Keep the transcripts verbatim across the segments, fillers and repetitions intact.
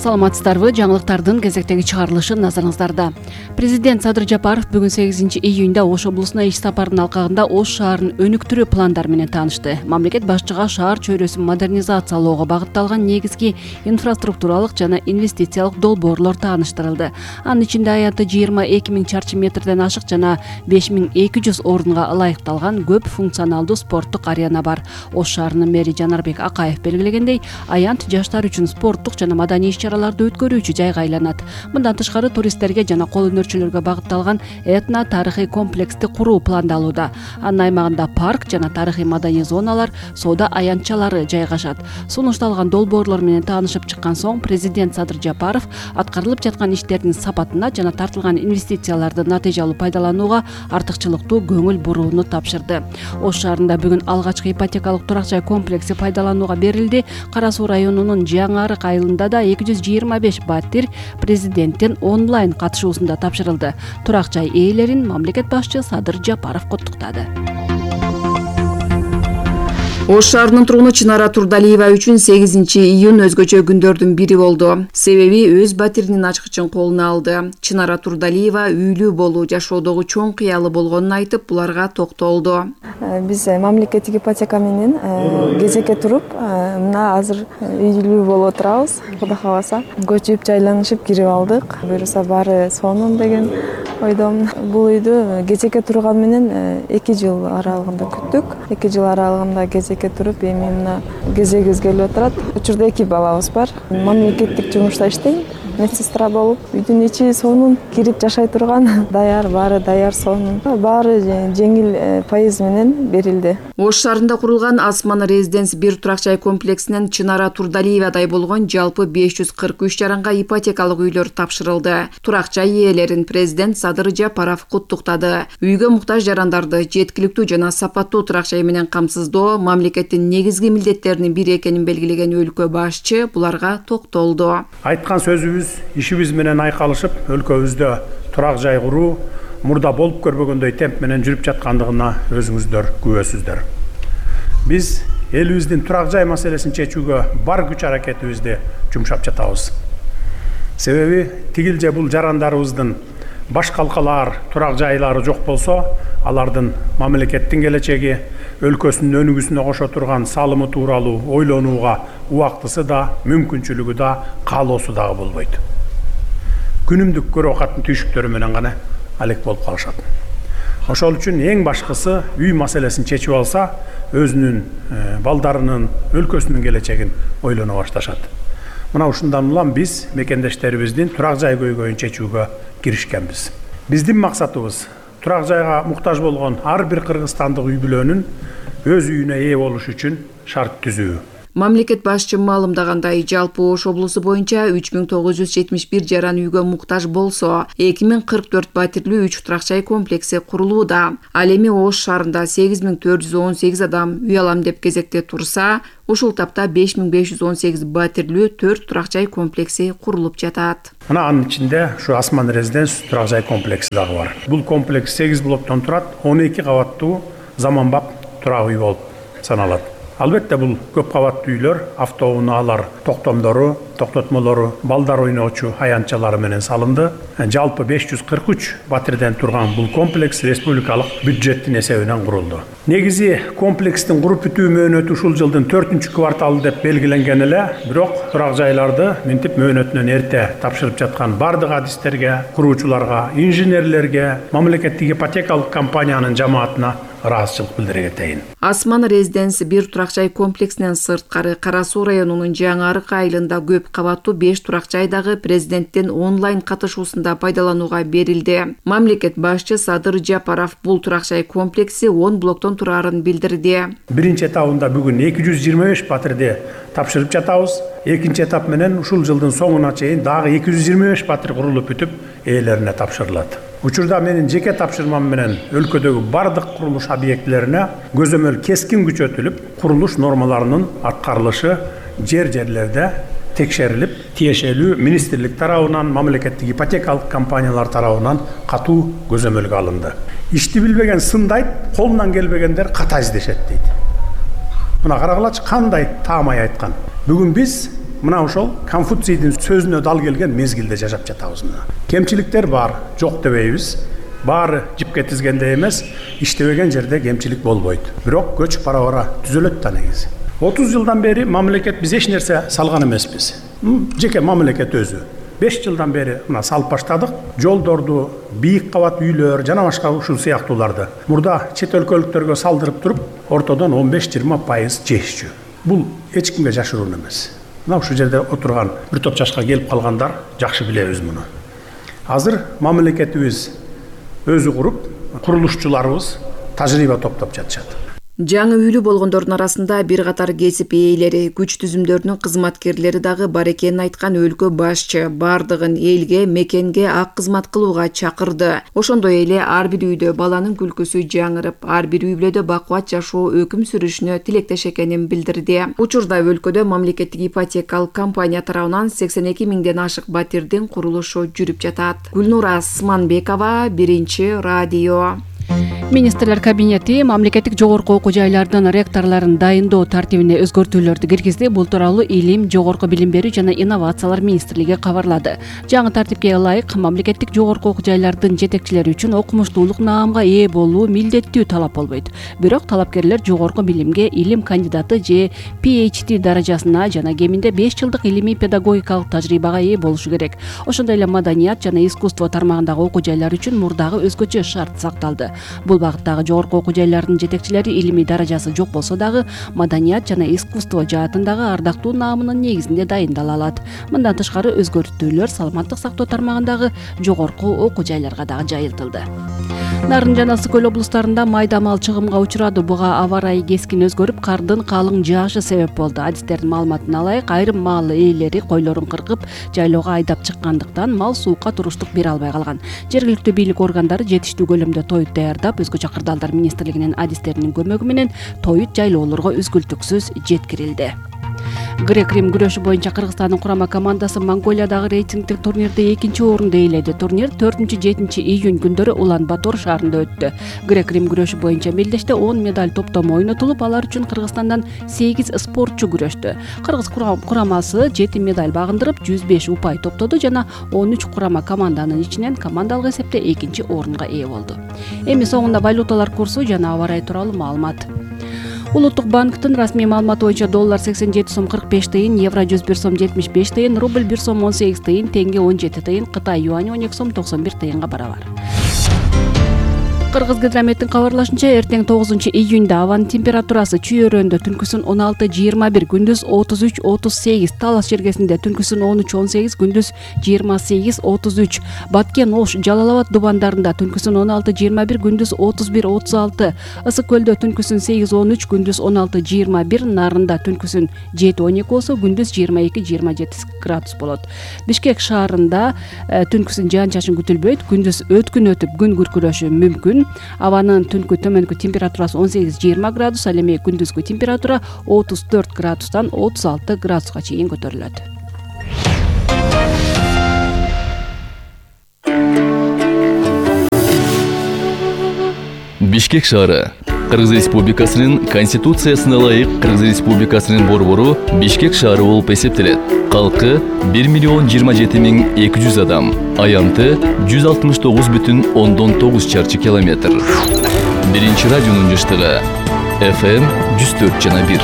Саламатсыздарбы? Жаңылыктардын кезектеги чыгарылышы назарыңыздарда. Президент Садыр Жапаров бүгүн сегизинчи июнда Ош облусуна иш сапарынын алкагында Ош шаарын өнүктүрүү пландары менен таанышты. Мамлекет башчыга шаар чөйрөсүн модернизациялоого багытталган негизги инфраструктуралык жана инвестициялык долбоорлор тааныштырылды. Анын ичинде аянты жыйырма эки миң чарчы метрден ашык жана беш миң эки жүз орунга ылайыкталган көп функционалдуу спорттук арена бар. Ош шаарынын мэри Жанарбек Акаев белгилегендей, аянт жаштар үчүн спорттук жана маданий иш-чараларды өткөрүүчү жайга айланат. Мындан тышкары туристтерге жана кол өнөрчүлөргө багытталган этно тарыхый комплексти куруу пландалууда. Анын аймагында парк жана тарыхый маданий зоналар, соода аянтчалары жайгашат. Сунушталган долбоорлор менен таанышып чыккан соң президент Садыр Жапаров аткарылып жаткан иштердин сапатына жана тартылган инвестицияларды натыйжалуу пайдаланууга артыкчылыктуу көңүл бурууну тапшырды. Ош шаарында бүгүн алгачкы ипотекалык турак жай комплекси пайдаланууга берилди. Кара Суу районунун Жаңы Арык айылында да эки жүз жыйырма беш батир президенттин онлайн катышуусунда тапшырылды. Турак жай ээлерин мамлекет башчы Садыр Жапаров куттуктады. Ош шаарынын тургуну Чынара Турдалиева үчүн сегизинчи июнь өзгөчө күндөрдүн бири болду. Себеби өз батиринин ачкычын колуна алды. Чынара Турдалиева үйлүү болуу жашоодогу чоң кыялы болгонун айтып, буларга токтолду. Биз мамлекеттик ипотека менен кезекке туруп, мына азыр үйлүү болуп отурабыз. Кудай кааласа, көчүп жайланышып кирип алдык. Буюрса баары сонун деген ойдомун. Бул үйдү кезекке турган менен эки жыл аралыгында күттүк. эки жыл аралыгында кезек туруп, эми мына кезегибиз келип отурат. Учурда эки балабыз бар. Мамлекеттик жумушта иштейм. Медсестра болуп, үйдүн ичи сонун, кирип жашай турган, даяр, баары даяр, сонун. Баары жеңил пайыз менен берилди. Ош шаарында курулган Асман Резиденс бир турак жай комплексинен Чынара Турдалиевадай болгон жалпы беш жүз кырк үч жаранга ипотекалык үйлөр тапшырылды. Турак жай ээлерин президент Садыр Жапаров куттуктады. Үйгө муктаж жарандарды жеткиликтүү жана сапаттуу турак жай менен камсыздоо мамлекеттин негизги милдеттеринин бири экенин белгилеген өлкө башчы буларга токтолду. Айткан сөзүбүз ишибиз менен айкалышып, өлкөбүздө турак жай куруу мурда болуп көрбөгөндөй темп менен жүрүп жаткандыгына өзүңүздөр күбөсүздөр. Биз элибиздин турак жай маселесин чечүүгө бар күч аракетибизди жумшап жатабыз. Себеби тигил же бул жарандарыбыздын баш калкалаар турак жайлары жок болсо, алардын мамлекеттин келечеги, өлкөсүнүн өнүгүүсүнө кошо турган салымы тууралуу ойлонууга убактысы да, мүмкүнчүлүгү да, каалоосу дагы болбойт. Күнүмдүк көрө катын түйшүктөрү менен гана алек болуп калышат. Ошол үчүн эң башкысы үй маселесин чечип алса, өзүнүн балдарынын, өлкөсүнүн келечегин ойлоно башташат. Мына ушундан улам биз мекендештерибиздин турак жай көйгөйүн чечүүгө киришкенбиз. Биздин максатыбыз турак жайга муктаж болгон ар бир кыргызстандык үй бүлөнүн өз үйүнө ээ болуш үчүн шарт түзүү. Мамлекет башчы маалымдагандай, жалпы Ош облусу боюнча үч миң тогуз жүз жетимиш бир жаран үйгө муктаж болсо, эки миң кырк төрт батирлүү үч турак жай комплекси курулууда. Ал эми Ош шаарында сегиз миң төрт жүз он сегиз адам үй алам деп кезекте турса, ушул тапта беш миң беш жүз он сегиз батирлүү төрт турак жай комплекси курулуп жатат. Мына анын ичинде ушу Асман Резиденс турак жай комплекси дагы бар. Бул комплекс сегиз блоктон турат, он эки кабаттуу заманбап турак үй болуп саналат. Албетте бул көп кабаттуу үйлөр автоунаалар токтомдору, токтотмолору, балдар ойноочу аянтчалары менен салынды. Жалпы беш жүз кырк үч батирден турган бул комплекс республикалык бюджеттин эсебинен курулду. Негизи комплекстин куруп бүтүү мөөнөтү ушул жылдын төртүнчү кварталы деп белгиленген эле, бирок турак жайларды минтип мөөнөтүнөн эрте тапшырып жаткан бардык адистерге, куруучуларга, инженерлерге, мамлекеттик ипотекалык компаниянын жамаатына ыраазычылык билдире кетейин. Асман Резиденс бир турак жай комплексинен сырткары Кара Суу районунун Жаңы Арык айылында көп кабаттуу беш турак жай дагы президенттин онлайн катышуусунда пайдаланууга берилди. Мамлекет башчы Садыр Жапаров бул турак жай комплекси он блоктон турарын билдирди. Биринчи этабында бүгүн эки жүз жыйырма беш батирди тапшырып жатабыз. Экинчи этап менен ушул жылдын соңуна чейин дагы эки жүз жыйырма беш батир курулуп бүтүп, ээлерине тапшырылат. Учурда менин жеке тапшырмам менен өлкөдөгү бардык курулуш объектилерине көзөмөл кескин күчөтүлүп, курулуш нормаларынын аткарылышы жер-жерлерде текшерилип, тиешелүү министрлик тарабынан, мамлекеттик ипотекалык компаниялар тарабынан катуу көзөмөлгө алынды. Ишти билбеген сындайт, колунан келбегендер ката издешет дейт. Мына карагылачы кандай таамай айткан. Бүгүн биз мына ошол Конфуцийдин сөзүнө дал келген мезгилде жашап жатабыз. Кемчиликтер бар, жок дебейбиз. Баары жипке тизгенде эмес, иштебеген жерде кемчилик болбойт. Бирок көчүп бара-бара түзөлөт да негизи. отуз жылдан бери мамлекет биз эч нерсе салган эмеспиз. Жеке мамлекет өзү. беш жылдан бери мына салып баштадык. Жолдорду, бийик кабат үйлөр, жана башка ушул сыяктууларды мурда чет өлкөлүктөргө салдырып туруп, ортодон он беш жыйырма пайыз жешчү. Бул эч кимге жашыруун эмес. Мына ушул жерде отурган бир топ жашка келип калгандар жакшы билебиз муну. Азыр мамлекетибиз өзү куруп, курулушчуларыбыз тажрыйба топтоп жатышат. Жаңы үйлүү болгондордун арасында бир катар кесип ээлери, күч түзүмдөрүнүн кызматкерлери дагы бар экенин айткан өлкө башчы бардыгын элге, мекенге ак кызмат кылууга чакырды. Ошондой эле ар бир үйдө баланын күлкүсү жаңырып, ар бир үй бүлөдө бакубат жашоо өкүм сүрүшүнө тилектеш экенин билдирди. Учурда өлкөдө мамлекеттик ипотекалык компания тарабынан сексен эки миңден ашык батирдин курулушу жүрүп жатат. Гүлнура Сманбекова, Биринчи радио. Министрлер кабинети мамлекеттик жогорку окуу жайлардын ректорлорун дайындоо тартибине өзгөртүүлөрдү киргизди. Бул тууралуу Илим, жогорку билим берүү жана инновациялар министрлиги кабарлады. Жаңы тартипке ылайык мамлекеттик жогорку окуу жайлардын жетекчилери үчүн окумуштуулук наамга ээ болуу милдеттүү талап болбойт. Бирок талапкерлер жогорку билимге илим кандидаты же пи эйч ди даражасына жана кеминде беш жылдык илимий педагогикалык тажрыйбага ээ болушу керек. Ошондой эле маданият жана искусство тармагындагы окуу жайлар үчүн мурдагы өзгөчө шарт сакталды. Бул багыттагы жогорку окуу жайлардын жетекчилери илимий даражасы жок болсо дагы маданият жана искусство жаатындагы ардактуу наамынын негизинде дайындала алат. Мындан тышкары өзгөртүүлөр саламаттык сактоо тармагындагы жогорку окуу жайларга дагы жайылтылды. Нарын жана Ысык көл облустарында майда мал чыгымга учурады. Буга аба ырайы кескин өзгөрүп, кардын калың жаашы себеп болду. Адистердин маалыматына ылайык, айрым мал ээлери койлорун кыркып, жайлоого айдап чыккандыктан мал суукка туруштук бере албай калган. Жергиликтүү бийлик органдары жетиштүү көлөмдө тоют даярдап, өзгөчө кырдаалдар министрлигинин адистеринин көмөгү менен тоют жайлоолорго үзгүлтүксүз жеткирилди. Грек-Рим күрөшү боюнча Кыргызстандын курама командасы Монголиядагы рейтингдик турнирде экинчи орунду ээледи. Турнир төртүнчү жетинчи июнь күндөрү Улан-Батор шаарында өттү. Грек-Рим күрөшү боюнча мелдеште он медаль топтому ойнотулуп, алар үчүн Кыргызстандан сегиз спортчу күрөштү. Кыргыз курамасы жети медаль багындырып, жүз беш упай топтоду жана он үч курама команданын ичинен командалык эсепте экинчи орунга ээ болду. Эми соңунда валюталар курсу жана аба ырайы тууралуу маалымат. Улуттук банктын расмий маалыматы боюнча доллар сексен жети сом кырк беш тыйын, евро жүз бир сом жетимиш беш тыйын, рубль бир сом он сегиз тыйын, теңге он жети тыйын, Кытай юани он эки сом токсон бир тыйынга барабар. Кыргыз гидрометтин кабарлашынча, эртең тогузунчу июнда абанын температурасы Чүй өрөөндө түнкүсүн он алты жыйырма бир, күндүз отуз үч отуз сегиз, Талас жергесинде түнкүсүн он үч он сегиз, күндүз жыйырма сегиз отуз үч, Баткен, Ош, Жалал Абад дубандарында түнкүсүн он алты жыйырма бир, күндүз отуз бир отуз алты, Ысык көлдө түнкүсүн сегиз он үч, күндүз он алты жыйырма бир, Нарында түнкүсүн жети он эки болсо, күндүз жыйырма эки жыйырма жети градус болот. Бишкек шаарында түнкүсүн жаан-чачын күтүлбөйт, күндүз өткүн өтүп күн күркүрөшү мүмкүн. Абанын түнкү төмөнкү температурасы он сегиз жыйырма градус, ал эми күндүзгү температура отуз төрт градустан отуз алты градуска чейин көтөрүлөт. Бишкек шаары Кыргыз Республикасынын Конституциясына ылайык Кыргыз Республикасынын борбору Бишкек шаары болуп эсептелет. Калкы бир миллион жыйырма жети миң эки жүз адам, аянты жүз алтымыш тогуз бүтүн ондон тогуз чарчы километр. Биринчи радионун жыштыгы эф эм жүз төрт жана бир.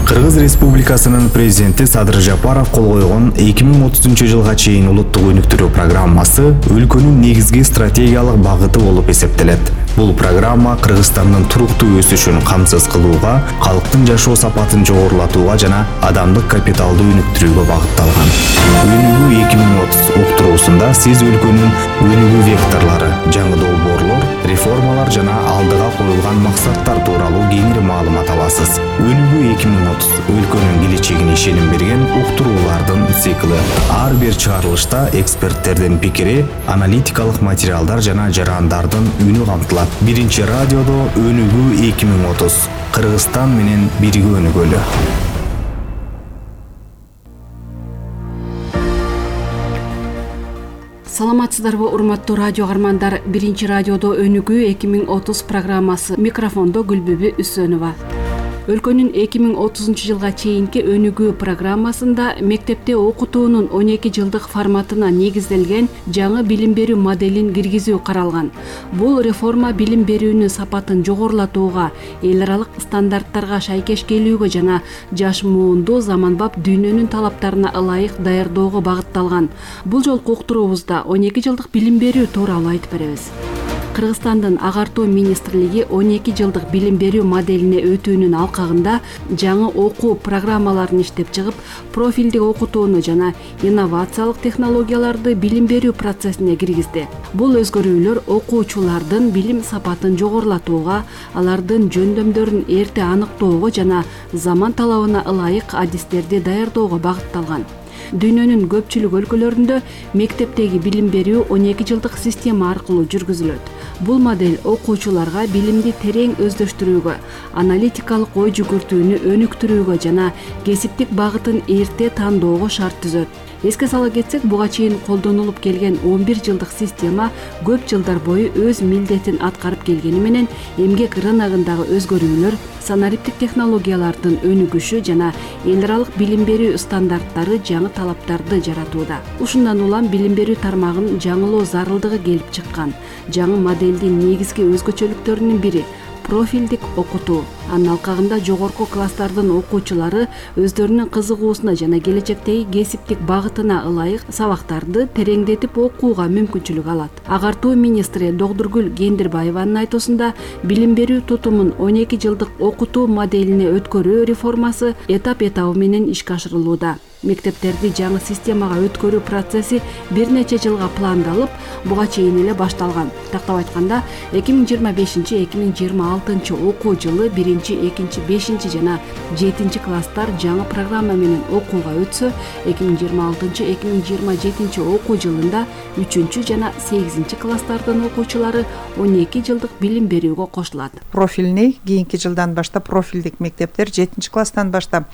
Кыргыз Республикасынын президенти Садыр Жапаров кол койгон эки миң отузунчу жылга чейин улуттук өнүктүрүү программасы өлкөнүн негизги стратегиялык багыты болуп эсептелет. Бул программа Кыргызстандын туруктуу өсүшүн камсыз кылууга, калктын жашоо сапатын жогорулатууга жана адамдык капиталды өнүктүрүүгө багытталган. Өнүгүү эки миң отуз уктуруусунда сиз өлкөнүн өнүгүү векторлору, жаңы долбоорлор, реформалар жана алдыга коюлган максаттар тууралуу кеңири маалымат аласыз. Өнүгүү эки миң отуз өлкөнүн келечегине ишеним берген уктуруулардын цикли. Ар бир чыгарылышта эксперттердин пикири, аналитикалык материалдар жана жарандардын үнү камтылат. Биринчи радиодо өнүгүү эки миң отуз. Кыргызстан менен бирге өнүгөлү. Саламатсыздарбы, урматтуу радио каармандар. Биринчи радиодо өнүгүү эки миң отуз программасы. Микрофондо Гүлбүбү Үсөнова. өлкөнүн эки миң отузунчу жылга чейинки өнүгүү программасында мектепте окутуунун он эки жылдык форматына негизделген жаңы билим берүү моделин киргизүү каралган. Бул реформа билим берүүнүн сапатын жогорулатууга, эл аралык стандарттарга шайкеш келүүгө жана жаш муунду заманбап дүйнөнүн талаптарына ылайык даярдоого багытталган. Бул жолку уктуруубузда он эки жылдык билим берүү тууралуу айтып беребиз. Кыргызстандын агартуу министрлиги он эки жылдык билим берүү моделине өтүүнүн алкагында жаңы окуу программаларын иштеп чыгып, профилдик окутууну жана инновациялык технологияларды билим берүү процессине киргизди. Бул өзгөрүүлөр окуучулардын билим сапатын жогорулатууга, алардын жөндөмдөрүн эрте аныктоого жана заман талабына ылайык адистерди даярдоого багытталган. Дүйнөнүн көпчүлүк өлкөлөрүндө мектептеги билим берүү он эки жылдык система аркылуу жүргүзүлөт. Бул модель окуучуларга билимди терең өздөштүрүүгө, аналитикалык ой жүгүртүүнү өнүктүрүүгө жана кесиптик багытын эрте тандоого шарт түзөт. Эске сала кетсек, буга чейин колдонулуп келген он бир жылдык система көп жылдар бою өз милдетин аткарып келгени менен эмгек рыногундагы өзгөрүүлөр, санариптик технологиялардын өнүгүшү жана эл аралык билим берүү стандарттары жаңы талаптарды жаратууда. Ушундан улам билим берүү тармагын жаңылоо зарылдыгы келип чыккан. Жаңы модельдин негизги өзгөчөлүктөрүнүн бири профилдик окутуу. Анын алкагында жогорку класстардын окуучулары өздөрүнүн кызыгуусуна жана келечектеги кесиптик багытына ылайык сабактарды тереңдетип окууга мүмкүнчүлүк алат. Агартуу министри Догдургүл Кендирбаеванын айтуусунда, билим берүү тутумун он эки жылдык окутуу моделине өткөрүү реформасы этап-этабы менен ишке ашырылууда. Мектептерди жаңы системага өткөрүү процесси бир нече жылга пландалып, буга чейин эле башталган. Тактап айтканда, эки миң жыйырма бешинчи эки миң жыйырма алтынчы окуу жылы биринчи, экинчи, бешинчи жана жетинчи класстар жаңы программа менен окууга өтсө, эки миң жыйырма алтынчы эки миң жыйырма жетинчи окуу жылында үчүнчү жана сегизинчи класстардын окуучулары он эки жылдык билим берүүгө кошулат. Профильный кийинки жылдан баштап профилдик мектептер жетинчи класстан баштап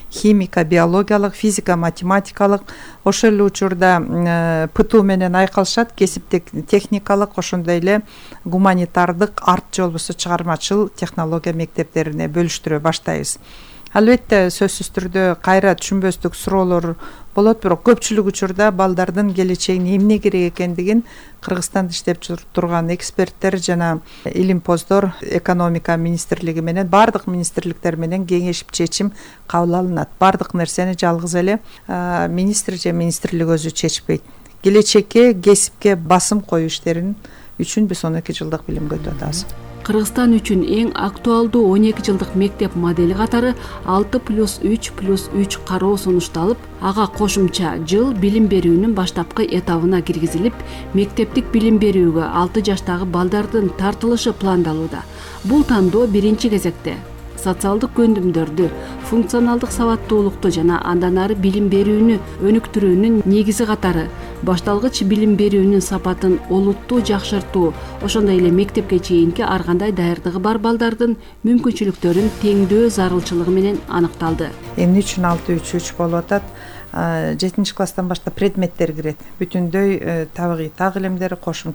химика, биологиялык, физика, математикалык, ошол эле учурда ПТУ менен айкалышат, кесиптик, техникалык, ошондой эле гуманитардык, арт же болбосо чыгармачыл технология мектептерине бөлүштүрө баштайбыз. Албетте, сөзсүз түрдө кайра түшүнбөстүк суроолор болот, бирок көпчүлүк учурда балдардын келечегине эмне керек экендигин Кыргызстанда иштеп турган эксперттер жана илимпоздор экономика министрлиги менен, бардык министрликтер менен кеңешип чечим кабыл алынат. Бардык нерсени жалгыз эле министр же министрлик өзү чечпейт. Келечекке, кесипке басым коюу иштерин үчүн биз он эки жылдык билимге өтүп атабыз. Кыргызстан үчүн эң актуалдуу он эки жылдык мектеп модели катары алты плюс үч плюс үч кароо сунушталып, ага кошумча жыл билим берүүнүн баштапкы этабына киргизилип, мектептик билим берүүгө алты жаштагы балдардын тартылышы пландалууда. Бул тандоо биринчи кезекте социалдык көндүмдөрдү, функционалдык сабаттуулукту жана андан ары билим берүүнү өнүктүрүүнүн негизи катары башталгыч билим берүүнүн сапатын олуттуу жакшыртуу, ошондой эле мектепке чейинки ар кандай даярдыгы бар балдардын мүмкүнчүлүктөрүн теңдөө зарылчылыгы менен аныкталды. Эмне үчүн алты үч үч болуп атат? жетинчи класстан баштап предметтер кирет. Бүтүндөй табигый так илимдер, кошумча